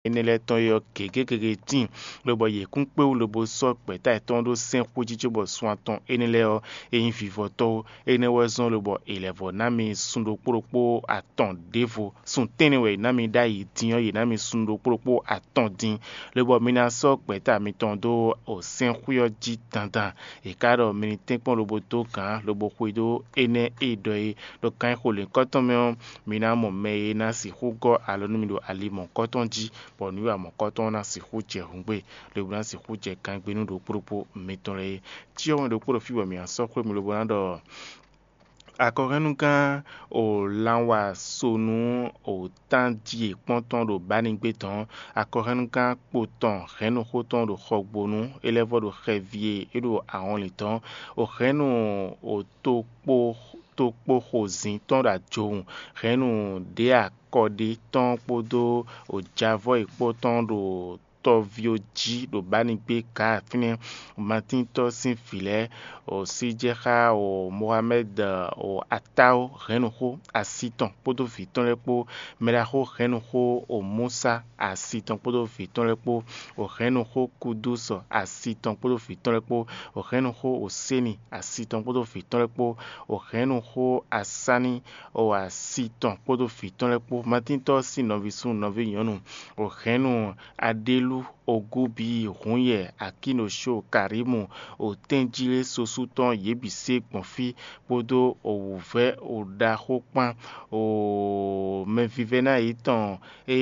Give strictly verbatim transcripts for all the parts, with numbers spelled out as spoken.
énɛ́ lɛ́ɛ tɔn é ɔ́ gěgé gěgé tíin, lobɔ yě kún kpé wú lobo sɔ́ gbɛ̌ta yětɔn ɖó sɛ́n xwé jí cóbɔ sun atɔn énɛ́ lɛ́ɛ ɔ́, é nyí vivɔtɔ́ ó. Énɛ́ wɛ zɔ́n lobɔ è lɛ̌ vɔ ná mi sun ɖokpó ɖokpó atɔn ɖěvo. Sun tɛ́nnɛ wɛ è nǎ mi ɖ'ayǐ din ɔ́, yě ná mi sun ɖokpó ɖokpó atɔn din, lobɔ mi ná sɔ́ gbɛ̌ta mitɔn dó sɛ́nxwé ɔ́ jí dandan. È ka ɖɔ mi ní tɛ́nkpɔ́n lobo dó gǎn lobo xwedó énɛ́ e ɖɔ é ɖo kanxixo lěhunkɔtɔn mɛ ɔ́, mi ná mɔ mɛ e ná sixú gɔ́ alɔ nú mi ɖo ali mɔ̌hunkɔtɔn jí, bɔ nǔwiwa mɔ̌hunkɔtɔn ɔ́ ná sixú jɛ hǔngbe, lobo ná sixú jɛ gangbénú ɖokpó ɖokpó mitɔn lɛ́ɛ é. Cyɔ́ wɛn ɖokpó ɖo fí bɔ mǐ ná sɔ́ xwé mi lobo ná ɖɔ akɔhɛ́nnugán o lanwasonu o tánjí e kpɔ́n tɔn ɖo Bánigbé dɔn, akɔhɛ́nnugán kpo tɔn hɛ̌nnuxó tɔn ɖo Xɔgbónu, é lɛ́ vɔ ɖo xɛví e é ɖo ahɔnlin dɔn, o hɛ̌nnu o tokpó tokpó xozǐn tɔn ɖo ajowun, hɛ̌nnu ɖě akɔɖé tɔn kpódó o javɔ́ e kpó tɔn ɖo tɔví ɔ́ jí ɖo Bánigbé Gaa fínɛ́. Matíntɔ́ sín vǐ lɛ́ɛ, o Síjɛ́xá, o Mohamɛ́d, o Atáó hɛ̌nnuxó asi tɔn kpódó vǐ tɔn lɛ́ɛ kpó, mɛɖaxó hɛ̌nnuxó o Músá asi tɔn kpódó vǐ tɔn lɛ́ɛ kpó, o hɛ̌nnuxó Kudúsɔ asi tɔn kpódó vǐ tɔn lɛ́ɛ kpó, o hɛ̌nnuxó o Séni asi tɔn kpódó vǐ tɔn lɛ́ɛ kpó, o hɛ̌nnuxó Asání o asi tɔn kpódó vǐ tɔn lɛ́ɛ kpó, Matíntɔ́ sín nɔví súnnu nɔví nyɔ̌nu, o hɛ̌nnu Aɖélú, Ogúbi, Hǔnyɛ, Akínoshó, Karímu, o tɛ́njílé sosú tɔn yě bǐ se gbɔn fí, kpódó o wǔvɛ́ o ɖaxó kpán, o mɛvívɛ́ná yětɔn e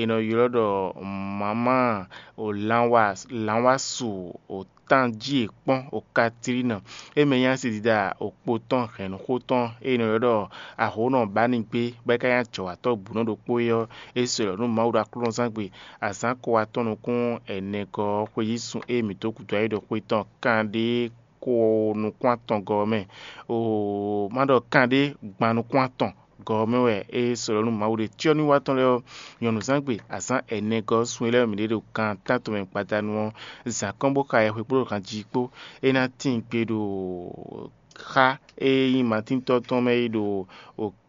è nɔ ylɔ́ ɖɔ Mama, o lanwa lanwasu, o tánjí e kpɔ́n, o Katlína, e mɛ nyí asidida o kpo tɔn hɛ̌nnuxó tɔn e è nɔ ylɔ́ ɖɔ Ahǒnɔ Bánigbé, bɔ é ka nyí ajɔ̌watɔ́ bǔnɔ ɖokpó é ɔ́, é se lɔ̌ nú Mawu ɖo aklúnɔzángbe azǎn ko atɔn nukún ɛnɛgɔ́ ɔ́ xweyísun e mǐ dó gǔdo ayǐ ɖo xwe tɔn kanɖé ko nukún atɔngɔ́ ɔ́ mɛ. Oo, má ɖɔ kanɖé gban nukún atɔn gɔ́ ɔ́ mɛ wɛ é se lɔ̌ nú Mawu ɖe. Cyɔ́núwa tɔn lɛ́ɛ ɔ́, nyɔ̌nuzángbe azǎn ɛnɛgɔ́ ɔ́ sun e lɛ́ɛ mǐ ɖe ɖo kan tántɔn mɛ gbadanu ɔ́, zǎn kɔn bó xa yɛhwe kpó ɖo ganjí kpó. É ná tíin gbe ɖo xá e nyí Matíntɔ́ tɔn mɛ é ɖo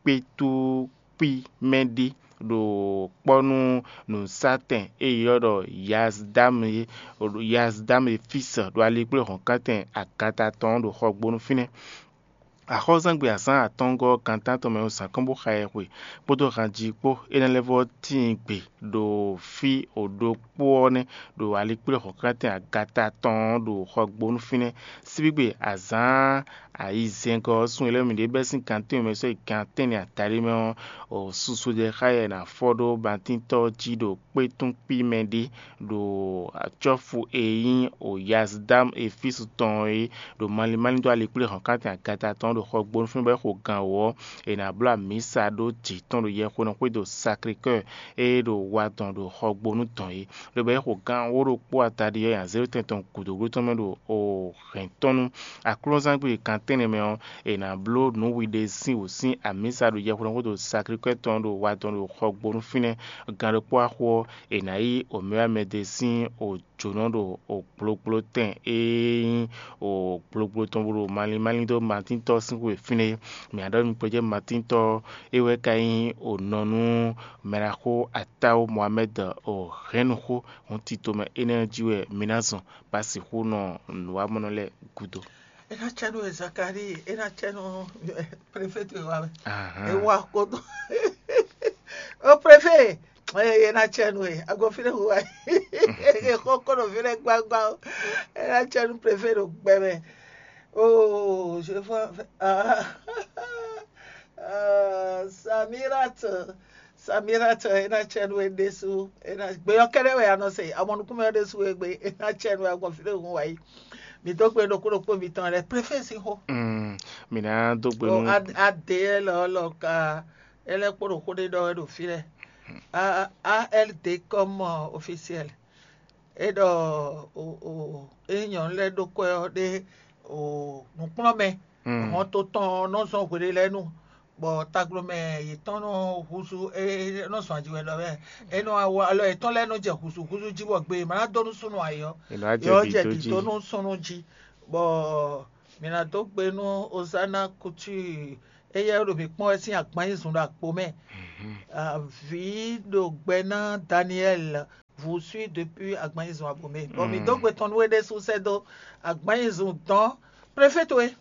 kpétú kpí mɛ ɖé ɖo kpɔ́ nú nǔsátɛn e è ylɔ́ ɖɔ Yazdam é, Yazdam e Físa ɖo alikpléhɔ̌nkántɛn agata tɔn ɔ́ ɖo xɔgbónu fínɛ́. Axɔ́zangbe azǎn atɔ́ɔ́ngɔ́ gan tántɔn mɛ ɔ́ zǎn kɔn bó xa yɛhwe kpódó hanjí kpó. É ná lɛ́ vɔ́ tíin gbe ɖo fí o ɖokpó ɔ́ nɛ́ ɖo alikpléhɔ̌nkántɛn agata tɔn ɔ́ ɖo xɔgbónu fínɛ́. Síbígbe azǎn ayizɛ́ngɔ́ ɔ́ sun e lɛ́ɛ mǐ ɖe bɛ́ sín gan tɛ́nwe mɛ sɔ́ yi gan tɛ́nnɛ adaɖé mɛ ɔ́, susu ɖɛ xá yɛ è nǎ fɔ ɖó bantíntɔ́ ɔ́ jí ɖo kpétún kpí mɛ ɖé ɖo acɔ́fu e nyí Yazdam Efísu tɔn é, ɖo malín malín dó alikpléhɔ̌nkántɛn agata tɔn ɔ́ ɖo xɔgbónu fínɛ́ bɔ é xo gan wǒ ɔ́, è nǎ bló amǐsa ɖó jǐ tɔn ɖo yɛhwenɔ́ xwé ɖo Saklekɔ́ɔ e ɖo wa dɔn ɖo xɔgbónu dɔn é. Lobɔ é xo gan wǒ ɖokpó ataɖi ɔ́ nyi azěɖotɛn tɔn gǔdo tɔn mɛ ɖo hɛ̌n tɔn nú aklúnɔzángbe kan tɛ́nnɛ mɛ ɔ́, è nǎ bló nǔ wiɖe sín wǔ sín amǐsa ɖo yɛhweɖɔxódo Saklekɔ́ɔ tɔn ɖo wa tɔn ɖo xɔgbónu fínɛ́. Gan ɖokpó axo ɔ́, è nǎ yí omɛwamɛde sín jǒnɔ ɖo gblogblo tɛn e nyí gblogblo tɔn bó ɖo malín malín dó Matíntɔ́ sín xwe fínɛ́ é. Mǐ ná ɖɔ nú gbɛjɛ́ Matíntɔ́ é wɛ ka nyí nɔ nú mɛɖaxó Atáwó Mohamɛ́d hɛ̌nnuxó hɔn tito mɛ énɛ́ ɔ́ jí wɛ mi ná zɔn bó ná sixú nɔ nǔwamɔnɔ lɛ́ɛ gúdo. É ná cɛ nú e Zakalíi, é ná cɛ nú prefetu e wa mɛ. Ahán. É wa kódó. Ó prefet, é ná cɛ nú e, agbɔ fínɛ́ hu wa. É xɔ kó ɖo fínɛ́ gbágbá ó. É ná cɛ nú prefet ɖo gbɛ mɛ. Oh, je vois. Ah. Ah, Samirat. Samirat, é ná cɛ nú we ɖésú. É ná gbé ɔ́ kɛ́ɖɛ́ wɛ a nɔ se. Amɔ nukúnmɛ ɔ́ ɖésú we gbé. É ná cɛ nú we agbɔn fínɛ́ hun wá yi. Mi dó gbe ɖokpó ɖokpó mitɔn lɛ préfé sín xó. Mm, mǐ ná dó gbe Ɖo nú A D lɔ lɔ ka é lɛ́ kpó ɖo xó ɖé ɖɔ wɛ ɖo fí lɛ. A A L D comme officiel. É ɖɔ o o é nyɔ̌nu lɛ́ɛ ɖó kwɛ́ ɔ́ ɖé o nǔkplɔ́nmɛ. Mm. Hɔn to tɔn ɔ́ nɔ zɔn hweɖé lɛ́ɛ nu, bɔ taglomɛ yětɔn nɔ húzú é nɔ zɔn aji wɛ ɖɔ wɛ. É nɔ awu alɔ yětɔn lɛ́ɛ nɔ jɛ húzúhúzú jí bɔ gbe e ma ná dó nú súnnu ayǐ ɔ́, È nɔ wá jɛ yɔ bǐ jɛ dó bǐ jí. Dó nú súnnu jí, bɔ mǐ ná dó gbe nú Hosanna Couture Éyɛ́ ɖo mǐ kpɔ́n wɛ sín agban nyi zun ɖo akpo mɛ. Vǐ ɖo gbɛ ná Daniel, vous suit depuis agban nyi zun abo mɛ. Bɔ mǐ dó gbe tɔn nú é ɖésú sɛ́ dó agban nyi zun dɔn préfet we,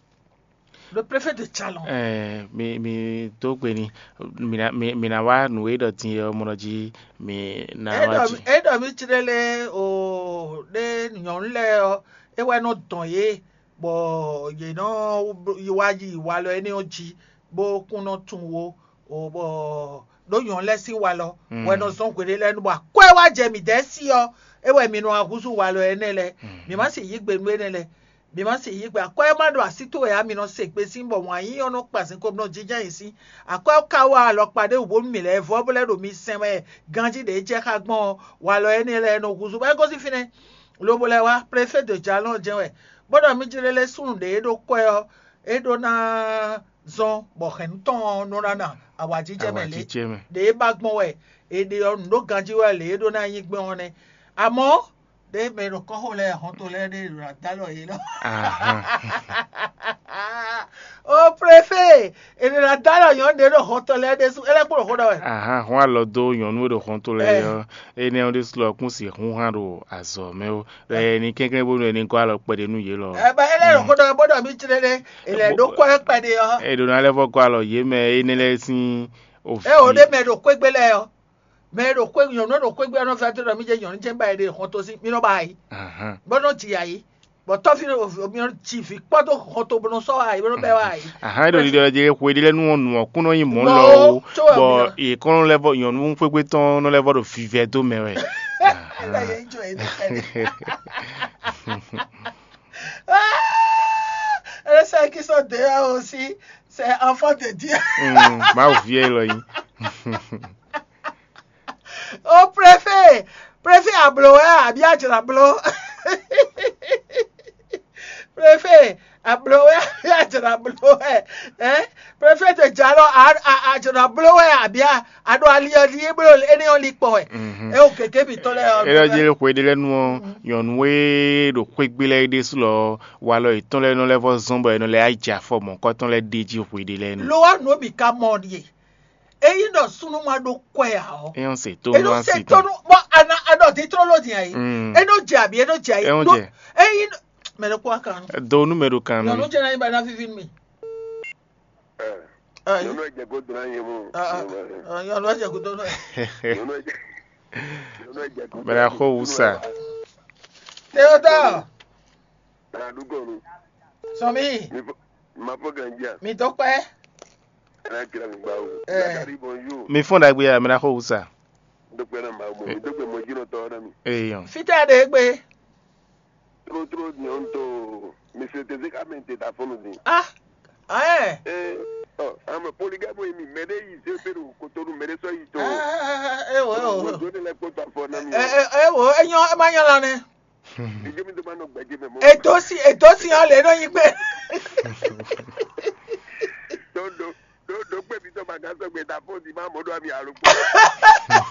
le préfet de Chalon. Ɛɛ, mi mi dó gbe ni. Mi na mi mi na wá nǔ e ɖɔ din ɔ́ mɔ jí mi na wá jí. É ɖɔ mí cí ɖé lé o ɖé nyɔ̌nu lɛ́ɛ ɔ́, é wɛ nɔ dɔn yě, bɔ yě nɔ yi wá yi walɔ énɛ́ ɔ́ jí, bó kún nɔ tunwun wo, o bɔ ɖó nyɔ̌nu lɛ́ɛ sín walɔ wɛ nɔ zɔ́n hweɖé lɛ́ɛ nu, bɔ akwɛ́ wá jɛ mǐdɛɛ sí ɔ́, é wɛ mi nɔ wá húzú walɔ énɛ́ lɛ́ɛ. Mǐ má sì yí gbe nú énɛ́ lɛ́ɛ. Mǐ má sì yí gbe akwɛ́ ɔ́ má ɖo así towe ǎ, mi nɔ se gbe sín bɔ wǎn yíyí ɔ́ nɔ kpa zinkpo nɔ jínjɔ́n ayǐ sín. Akwɛ́ ɔ́ ka wá alɔkpa ɖé wǔ bónú mǐ lɛ́ vɔ́ bó lɛ́ ɖo mi sɛn wɛ ganjí ɖě jɛ xá gbɔn ɔ́, walɔ énɛ́ lɛ́ɛ nɔ húzú bɔ é gosín fínɛ́. Lobo lɛ́ wá, préfet de Jalɔn jɛ́n wɛ, bó ɖɔ mí jlé lɛ́ súnnu ɖě e ɖó kwɛ́ ɔ́, é ɖó ná zɔ́n bɔ hɛ̌nnu tɔn ɔ́ nɔ ná na awǎjijɛ mɛ lě. Ɖě e ba gbɔn wɛ è ɖe ɔ́, nǔ ɖó ganjí wɛ lě e ɖó ná nyí gbɔn ɔ́ nɛ́. Amɔ̌, ɖěe mɛ e ɖo kɔ́xo lɛ́ɛ hɔnto lɛ́ɛ ɖe ɖo adalɔ yě nɔ. O préfet, è ɖe ɖo adalɔ nyɔ̌nu ɖě ɖo hɔnto lɛ́ɛ ɖésú, é lɛ́ kpo ɖo xó ɖɔ wɛ. Ahan, hɔn alɔ dó nyɔ̌nu e ɖo hɔnto lɛ́ɛ ɔ́, énɛ́ ɔ́ ɖésú lɔ kún sixú hán ɖo azɔ̌ mɛ ó. Lɛ ní kɛnklɛ́n bónú è ní gɔ́ alɔ kpɛɖé nú yě lɔ. Ɛ bɔ é lɛ́ ɖo xó ɖɔ wɛ bó ɖɔ mí jlé ɖé, è lɛ́ ɖó kɔ́ ɛ kpɛɖé ɔ́. È ɖǒ ná lɛ́ vɔ́ gɔ́ alɔ yě mɛ énɛ́ lɛ́ɛ sín òfin. É o ɖé mɛ ɖo xwégbé lɛ́ɛ ɔ́. Mɛ e ɖo xwé nyɔ̌nu e ɖo xwé gbe ɔ́ nɔ vɛ́ dó ɖɔ mí jɛ nyɔ̌nu jɛ́n ba e ɖe xɔn tó sín mí nɔ ba ayǐ, bó nɔ ji ayǐ, bɔ tɔ́ví mí nɔ ji vǐ kpɔ́ dó xɔn tó bó nɔ sɔ́ ayǐ bó nɔ bɛ́ wá ayǐ. Ahan, é ɖo ɖiɖɔ jí xwe ɖé lɛ́ɛ nú ɔ́ nǔ ɔ́ kún nɔ nyí mɔ̌ lɔ ó, bɔ yě kɔn nɔ lɛ́ vɔ nyɔ̌nu xwégbétɔn nɔ lɛ́ vɔ ɖo vivɛ dó mɛ wɛ. Ela yɛ jɔ yɛ dó kɛlɛ. Ela sɛ kisɔ de ya aussi, c'est enfant de Dieu. Mawu ví ɛ lɔ yí. O préfet, préfet abló wɛ àbí àjàrà bló? Préfet abló wɛ àbí àjàrà bló wɛ? Hein? Préfet de Jalɔ, àjàrà bló wɛ àbí? Àɖo ali ɔ́ li bló énɛ́ ɔ́ li kpɔn wɛ. É o gěgé mǐtɔn lɛ́ɛ ɔ́. É lɔ jí xwe ɖé lɛ́ɛ nu ɔ́, nyɔ̌nu e ɖo xwé gbé lɛ́ɛ é ɖésú lɔ walɔ yětɔn lɛ́ɛ nɔ lɛ́ vɔ zɔ́n bɔ è nɔ lɛ́ yá jɛ afɔ mɔ̌kɔtɔn lɛ́ɛ ɖ'é jí xwe ɖé lɛ́ɛ nu. Lo wa nǔ bǐ ka mɔ ɖíe. Ényí ɖɔ súnnu ma ɖó kwɛ ǎ ɔ́, é nɔ se tó é nú nɔ se asi tó tɔn. Nú bɔ ana aɖɔ dín tlóló din ayi. Mm. É nɔ jɛ abi, é nɔ jɛ ayi. É nɔ jɛ. Ényí mɛ ɖo kó akan. Do nú mɛ ɖo kan nú. Nyɔnu jɛ na yi ba na vivi mi. Ayi. Nyɔnu ɛjɛ ko dona yɛ mo. Nyɔnu ɛjɛ ko dona. Nyɔnu ɛjɛ. Nyɔnu ɛjɛ ko. Mɛ na xo wusa. Teodoro. Anadugonu. Sɔmi. Mi fo ma fo ganjia. Mi dɔkpɛ. Ana kira mi gbawo. Eh. Zakari bonjour. Mi fɔn ɖagbe ya, mi na xo wusa. Dɔkpɛ na ma mo. Mi dɔkpɛ mo jino tɔ na mi. Eyɔn. Fita ɖe gbe. Tro tro nyɔn to. Monsieur Tezek amen te ta fɔnu din. Ah. Eh. Eh. Oh, ama poligamo mi mede yi se pe do kotonu mede so yi to. Ah, eh, oh, oh. Wo do ne le ko ta fɔ na mi. Eh, eh, eh, wo, eh, nyɔ, eh, ma nyɔ la ne. Èdósì èdósì hàn lè nọ yí gbé. Tó dó pé mi tó ma gán sọgbè ta fóònù má mọ́ dó àmì àrùkpó.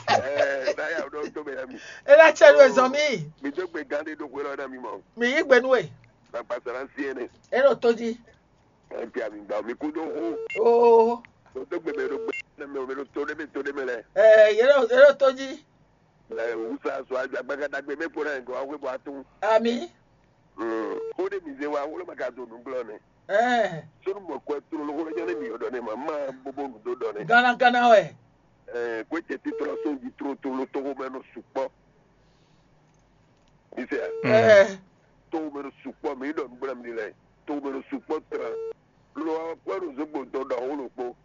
Ẹ náyà ọdún tó bẹ̀rẹ̀ mi. Ẹ náà tsẹ́ lu ẹ̀zọ́ mi. Mi tó gbé gán dé dókòó lọ́dọ̀ mi mọ́. Mi yí gbẹnu ẹ̀. Bàbá sara ń sí ẹni. Ẹ lọ tó jí. Ẹ ti àmì gbà mí kú dó hó. Oo. Tó tó gbé bẹ̀rẹ̀ gbé mẹ́mẹ́ omi tó dé mi tó dé mi lẹ. Ẹ yẹ lọ tó jí. Wusa sɔ agbagada gbe mɛ kpɔɖɛ gɔ awe bɔ atu. Ami. O de mi ze wa wolo ma ka do nu gblɔ ne. Ɛɛ. Sɔnu mɔ kɔ tro lo wolo nyane mi yɔ dɔ ne ma ma bobo nu do dɔ ne. Gana gana wɛ. Ɛɛ, kwe tɛ ti tro so ji tro tro lo togo mɛ no sukpɔ. Mi se. Ɛɛ. Togo mɛ no sukpɔ mi dɔ nu gblɔ mi lɛ. Togo mɛ no sukpɔ tra. Lo wa kɔ do zogbo dɔ dɔ wolo kpo.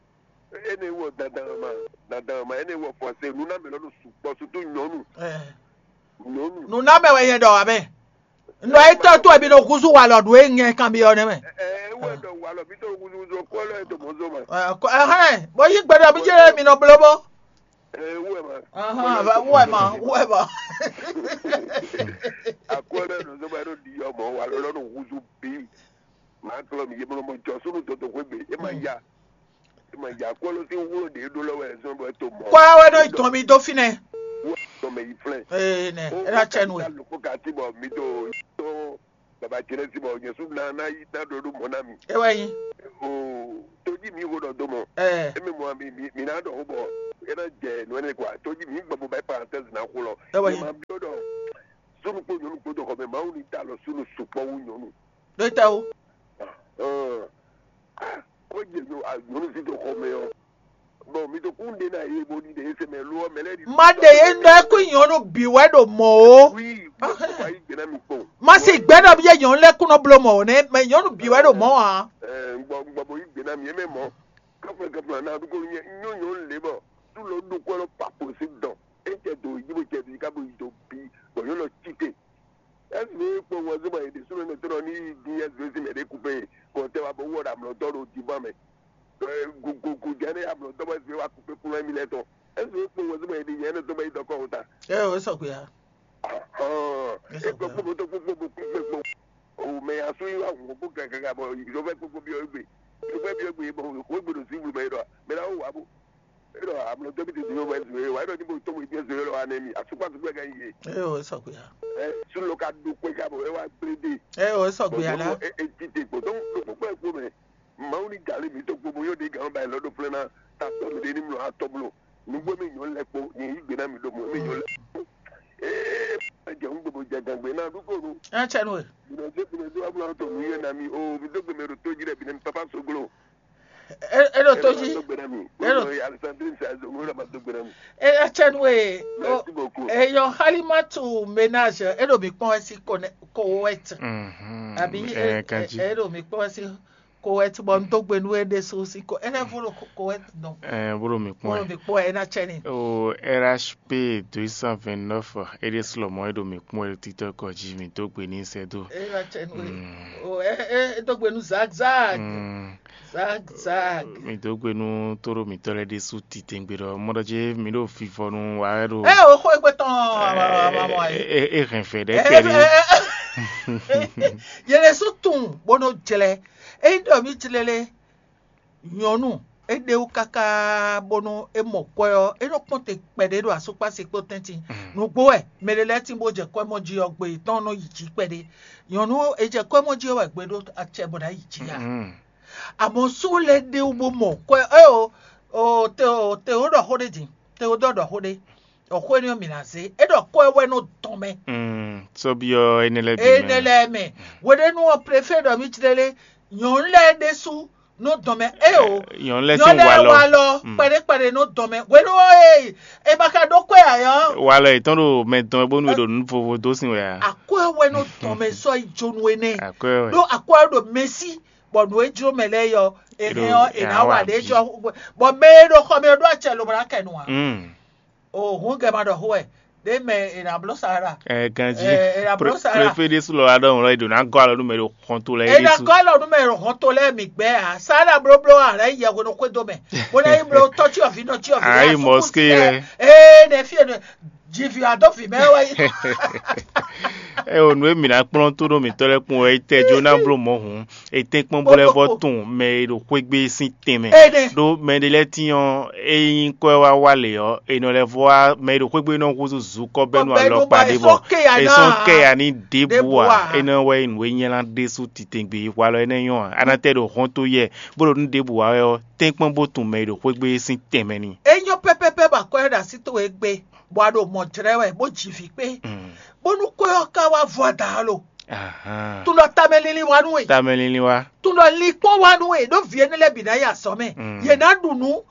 Ene wɔ dandanma, dandanma ene wɔ fɔse nunamɛ lɔ ɖo sukpɔ sutu nyɔnu. Nyɔnu. Nunamɛ wɛ yɛ ɖɔ amɛ. Nɔ etɔ to ebi nɔ gusu walɔ ɖu e nyɛ kan bi ɔ nɛ mɛ. Ɛ ɛ wɔ ɖɔ walɔ bi to gusu gusu kɔ lɔ eto mɔ zoma. Ɛhɛn, bɔ yi gbɛdɔ mi jɛ mi nɔ blo bɔ. Ɛ wɔ ma. Ahɔn, wɔ ma, wɔ ma. Akɔ lɛ nɔ zoma ɖo di yɔ mɔ walɔ lɔ nɔ gusu bi. Maa klɔ mi yeblo mɔ jɔ sunu dodo xwegbe, e ma ya. Kpɔ́ wɛ nɔ yi tɔn mi dó fínɛ́. Ee nɛ, é ná tsɛ nu we. Loko ka ti bɔ mi do to baba jɛnɛ ti bɔ Jesu na na yi na do do mɔ na mi. É wɛ nyi. O to ji Mi xo ɖɔ dó mɔ. Ɛ. Emi mɔ mi mi mi ná ɖɔ xó bɔ é ná jɛ nǔ ɛnɛ kɔ ato jí mi gbɔ mo bɛ parenthèse ná xó lɔ. Ɛ wɛ. Mi ma biɔ ɖɔ súnú kpó nyɔnu kpó dɔ xɔ mɛ Mawu ní ta lɔ súnú sukpɔ wú nyɔnu. Ɖo ta o. Ɔn. Ó jɛ nyɔ nyɔnu sí dɔ xɔ mɛ ɔ. Bɔn mi tó kún ɖe ná yé bó ní ɖe é sɛ mɛ ló ɔ mɛ lɛ ní. Má ɖe yé nɔ ɛ kú nyɔnu bǐ wɛ ɖo mɔ o. Wi gbɔ yí gbɛ ná mi kpɔn. Má sì gbɛ nɔ bí yé nyɔnu lɛ kún nɔ bló mɔ o nɛ mɛ nyɔnu bǐ wɛ ɖo mɔ a. Ɛ gbɔ gbɔ bo yí gbɛ ná mi é mɛ mɔ. Kafla kafla na ɖu ko nyɛ nyɔ nyɔ lé bɔ tu lɔ ɖo kɔ lɔ pa kpo si dɔn e cɛ do yi bo cɛ bi ka bo yi do bi bɔ yɔ lɔ ci te. Esi mi kpɔ wɔ zuma yi de sunu ne tɔnɔ ni yi di esi mi mɛ de kupe kɔ tɛ wa bo wɔ da mlɔ dɔ do di ba mɛ. Ɛ gu gu gu jɛ ne ya mlɔ dɔ bɔ esi mi wa kupe kunu mi lɛ tɔ. Esi mi kpɔ wɔ zuma yi di yɛ ne tɔ bɔ yi dɔ kɔ o ta. Ɛ o sɔ gbe ya. Hɔn e kpɔ kpɔ kpɔ kpɔ kpɔ kpɔ kpɔ. O mɛ ya su yi wa ŋu kpɔ kaka bɔ yi lɔ fɛ kpɔ kpɔ bi o gbe. Lɔ fɛ bi o gbe bɔ o gbe do si wuli mɛ yi dɔ mɛ la o wa bo. Eɖɔ amlɔ dɔbi tete yɔ wɛ zue wa eɖɔ nibo tɔmɔ ibi zue lɔ anɛ mi asukpa sukpa ka yi. Eyo esɔkpe ya. Ɛ sulo ka do kpe ka bɔ ewa gble de. Eyo esɔkpe ya la. E tite gbɔ dɔn ɖo kpukpɛ kpo mɛ. Mawu ni gali mi to gbogbo yɔ de gan ba lɔ do flɛ na ta tɔ mi de ni mlɔ atɔ blo. Nugbo mi nyɔ lɛ kpo ni yi gbe na mi do mɔ mi nyɔ lɛ. Ee jɛ ŋu gbogbo jɛ gangbe na du ko nu. Ɛ cɛ nu e. Bina se bina se wa bla to nu yɛ na mi o mi do gbe mi do to ji dɛ bina mi papa soglo. Eɖo to jí. Eɖo. Eyɔ Halimatu ménage eɖo mi kpɔn wɛ sí Koweït. Àbí eɖo mi kpɔn wɛ sí Koweït bɔ n dó gbe nú é ɖésú sí ko é lɛ́ vo ɖo Koweït nɔ. Bó ɖo mi kpɔn wɛ. Bó ɖo mi kpɔn wɛ é ná tsɛ ni. O R H P deux cent vingt-neuf é ɖésú lɔmɔ é ɖo mi kpɔn wɛ títɔ kɔ jí mi dó gbe ní sɛ dó. É ná tsɛ nú é. O é é dó gbe nú Zak Zak. Zak Zak. Mi dó gbe nú tóɖó mǐtɔn lɛ́ɛ ɖésú titewungbe ɖɔ mɔ ɖɔ jí mi ɖo vivɔnu wa wɛ ɖo. Ɛ o xó egbe tɔn amamɔ ayi. E hɛn fɛ ɖɛ kɛɖi. Yɛ ɖésú tunwun bó nɔ jlɛ. Ényí ɖɔ mǐ jlɛ lé nyɔ̌nu é ɖe wú káká bónú é mɔ kwɛ́ ɔ́, é nɔ kpɔ́n te kpɛɖé ɖo asúkpási kpó tɛ́ntin. Nǔgbó wɛ mɛ ɖé lɛ́ɛ tín bó jɛ kwɛ́ mɔ jí ɔ́, gbe yětɔn nɔ yi jǐ kpɛɖé. Nyɔ̌nu e jɛ kwɛ́ mɔ jí ɔ́ wɛ gbe ɖó acɛ bɔ ná yi jǐ ǎ. Àmọ́ sú lɛ́ɛ ɖé wú bó mɔ kwɛ́ ɛ o, o te o te o ɖɔ xó ɖé din, te o ɖɔ ɖɔ xó ɖé, ɖɔ xó énɛ́ ɔ́ mǐ ná zé. É ɖɔ kwɛ́ wɛ nɔ dɔn mɛ. Sɔ́byɔ́ énɛ́ lɛ́ɛ bǐ mɛ. Énɛ́ lɛ́ɛ mɛ. Hweɖénu ɔ́, prefé ɖɔ mì jlé lé, nyɔ̌nu lɛ́ɛ ɖésú nɔ dɔn mɛ. É o, nyɔ̌nu lɛ́ɛ sín walɔ. Walɔ kpɛɖé kpɛɖé nɔ dɔn mɛ. Hwenu ɔ́, e e ma ka ɖó kwɛ́ ǎ ɔ́. Walɔ yětɔn ɖo mɛ dɔn wɛ bónú è ɖo nǔ vovo dó sin wɛ ǎ. Akwɛ́ wɛ nɔ dɔn mɛ sɔ́ yi jónú énɛ́. Akwɛ́ wɛ. Ɖó akwɛ́ ɔ́ ɖo mɛsí, bɔ nǔ e jló mɛ lɛ́ɛ yɔ, è hɛn ɔ́, è nǎ wa ɖě jɔ. Bɔ mɛ e ɖo xɔ mɛ ɔ́ ɖó acɛ lobo ná kɛ nu ǎ. O hǔn gɛ ma ɖɔ xó wɛ, ɖé mɛ è nǎ bló sa ɖa. Ɛ ganjí. È nǎ bló sa ɖa. Préfé ɖésú lɔ wá ɖɔhun lɔ é ɖo ná gɔ́ alɔ nú mɛ ɖo xɔnto lɛ́ɛ. È nǎ gɔ́ alɔ nú mɛ ɖo xɔnto lɛ́ɛ mǐ gbɛ́ ǎ. Sa ɖa blóbló ǎ lɛ́ yɛ hwenu xwé dó mɛ. Bó ná yi bló tɔ́ cyɔ vǐ nɔ cyɔ vǐ. Ayi mɔské lɛ. Ee nɛ fí e nɔ jivǐ adó vǐ mɛ wɛ yi. Ɛ o nǔ e mǐ ná kplɔ́n tó ɖó mǐtɔn lɛ́ɛ kpɔ́n wɛ é tɛ́ jó ná bló mɔ̌ hǔn. Etɛ́nkpɔ́n bó lɛ́ vɔ tunwun mɛ e ɖo xwé gbé sín tɛnmɛ. Ɖó mɛ ɖé lɛ́ɛ tín ɔ́, é nyí kɔ́ wá wá lě ɔ́, è nɔ lɛ́ vɔ wá mɛ e ɖo xwé gbé nɔ húzú zukɔ́ bɛ́nu alɔkpa ɖé bɔ è sɔ́ kɛ ya ní ɖěbǔ ǎ. É nɔ wɛ nyí nǔ e nyɛ́lá ɖésú titewungbe hwalɔ énɛ́ nyɔ́ ǎ. A ná tɛ ɖo hɔn tó yɛ bó ɖo nú ɖěbǔ wá wɛ ɔ́, tɛ́nkpɔ́n bó tunwun mɛ e ɖo xwé gbé sín tɛnmɛ ní. É nyɔ́ pɛ́pɛ́pɛ́ bɔ akwɛ́ ɖo así towe gbé, bɔ a ɖo mɔ̌ jlɛ́ wɛ, bó ji vǐ kpé, bónú xwé ɔ́ ka wá vɔ ada ɔ́ lo. Tun ɖɔ tamɛ linlin wá nú we. Tamɛ linlin wá. Tun ɖɔ linkpɔ́n wá nú we ɖó vǐ énɛ́ lɛ́ɛ bǐ ná yi azɔ̌ mɛ. Yě ná ɖu nǔ.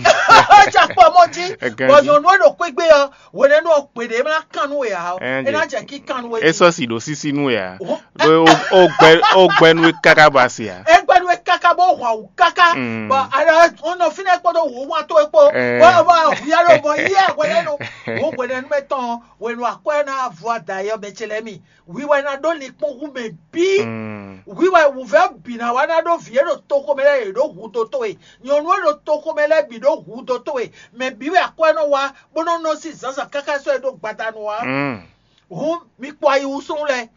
Cakpɔ mɔ jí, bɔ nyɔ̌nu e ɖo xwé gbé ɔ́, hwenɛ́nu ɔ́, gbe ɖě ná kan nú we ǎ ɔ́, é ná jɛ kí kan nú we. É sɔ́ sì ɖo sísí nú we ǎ. Ó gbɛ nú we káká ba se ǎ. É gbɛ nú we káká bó hwan wǔ káká. Bɔ alɔ ɔ́ nɔ fínɛ́ kpódó wǔ wán tó é kpó. Bɔ bɔ hwíyá ló bɔ yíyá hwenɛ́nu. Wǒ hwenɛ́nu mɛ tɔn hwenu akwɛ́ ná vɔ adayɔ mɛ ce lɛ́ɛ mi. Hwi wɛ ná ɖó linkpɔ́n hú mɛ bǐ. Hwi wɛ wǔvɛ́ bǐ ná wá ná ɖó vǐ e ɖo toxo mɛ lɛ́ɛ yě ɖó hǔ dó towe. Nyɔ̌nu e ɖo toxo mɛ lɛ́ɛ bǐ ɖó hǔ dó towe. Mɛ bǐ wɛ akwɛ́ nɔ wá bó nɔ́ nɔ sín zǎnzǎn káká sɔ́ e ɖó gbadanu ǎ. Hǔn mi kpɔ ayi wú súnnu lɛ́ɛ,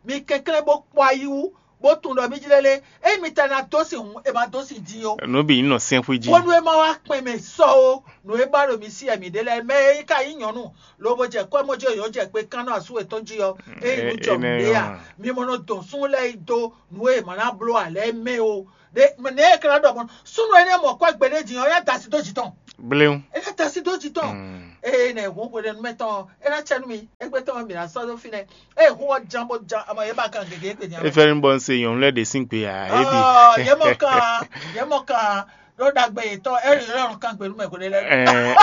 mi kɛnklɛ́n bó kpɔ ayi wú, bó tunwun ɖɔ mí jlɛ́ lé. Ényí mi ta ná dó sin hǔn, è ma dó sin din ó. Nǔ bǐ nyí nɔ sɛ́nxwí jí. Bónú é má wá kpɛn mɛ sɔ ó, nǔ e ba ɖo mi sí wɛ mi ɖe lɛ́ɛ, mɛ e ka nyí nyɔ̌nu, lobo jɛ kɔ́ mɔ jí yǒ jɛ kpe kán nɔ asú yětɔn jí ɔ́, ényí nú jɔ nǔɖé a, mi mɔ nɔ dɔn súnnu lɛ́ɛ yi dó nǔ e è ma ná bló ǎ lɛ́ɛ mɛ ó. Ɖé nɛ̌ è ka ná ɖɔ mɔ̌ súnnu énɛ́ mɔ kwɛ́ gbeɖé din ɔ́, é ná da asi dó jǐ tɔn. Bléwu. É ná da asi dó jǐ tɔn. Ée nɛ hǔn hweɖénu mɛ tɔn ɔ́, é ná cɛ nú mi. Égbé tɔn ɔ́, mi ná sɔ́ dó fínɛ́. Ée hǔn ɔ́ ján bó ján, amɔ yě ba kan gěgé gbe din. Efɛ́nu bɔ un se nyɔ̌nu lɛ́ɛ ɖě sín gbe ǎ, é bǐ. Ɔɔ, yě mɔ kan, yě mɔ kan ɖó ɖagbe yětɔn, é lɔn kan gbe nú mɛ hweɖé lɛ́ɛ. Ɛɛ.